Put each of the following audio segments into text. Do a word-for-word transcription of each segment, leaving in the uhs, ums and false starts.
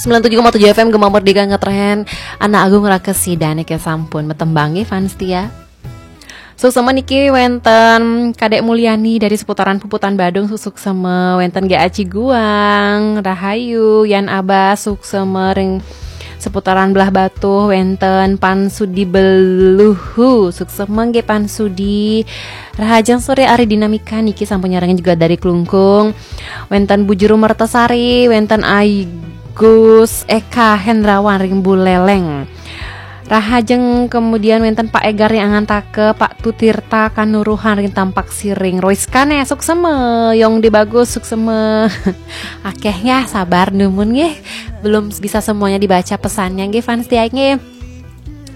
sembilan tujuh koma tujuh F M Gema Merdeka ngetren. Anak Agung Rakesi dan Eke sampun metembang nggih fans setia. Suksema niki wenten Kadek Mulyani dari seputaran Puputan Badung, suksema wenten G A Ciguang, Rahayu, Yan Abas, suksema ring seputaran Belah Batuh, wenten Pan Sudi Beluhu, suksema nggih Pan Sudi. Rahajeng sore ari Dinamika niki sampun nyarengin juga dari Klungkung. Wenten Bu Juru Mertasari, wenten Agus Eka Hendrawan ring Buleleng. Rahajeng kemudian wenten Pak Egar yang Angantaka, Pak Tutirta Kanuruhan ring Tampak Siring. Rois Kane, suksema, Yong di Bagus, suksema. Akeh ya, sabar dumun nggih. Belum bisa semuanya dibaca pesannya nggih fans setia nggih.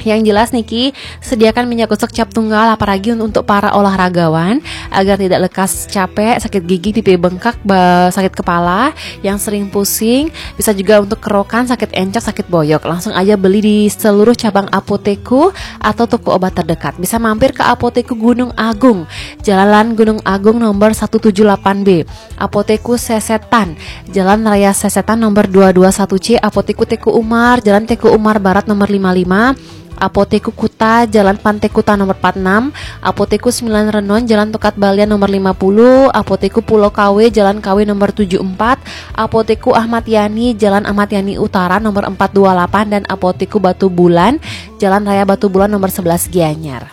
Yang jelas niki, sediakan minyak gosok cap tunggal apalagi un- untuk para olahragawan agar tidak lekas capek, sakit gigi, pipi bengkak, ba- sakit kepala, yang sering pusing, bisa juga untuk kerokan, sakit encok, sakit boyok. Langsung aja beli di seluruh cabang Apotekku atau toko obat terdekat. Bisa mampir ke Apotekku Gunung Agung, Jalan Gunung Agung nomor satu tujuh delapan B. Apotekku Sesetan, Jalan Raya Sesetan nomor dua dua satu C, Apotekku Teku Umar, Jalan Teku Umar Barat nomor lima lima, Apotekku Kuta, Jalan Pantai Kuta nomor empat enam, Apotekku Sembilan Renon, Jalan Tokat Balian nomor lima puluh, Apotekku Pulau Kawe, Jalan Kawe nomor tujuh empat, Apotekku Ahmad Yani, Jalan Ahmad Yani Utara nomor empat dua delapan, dan Apotekku Batu Bulan, Jalan Raya Batu Bulan nomor sebelas Gianyar.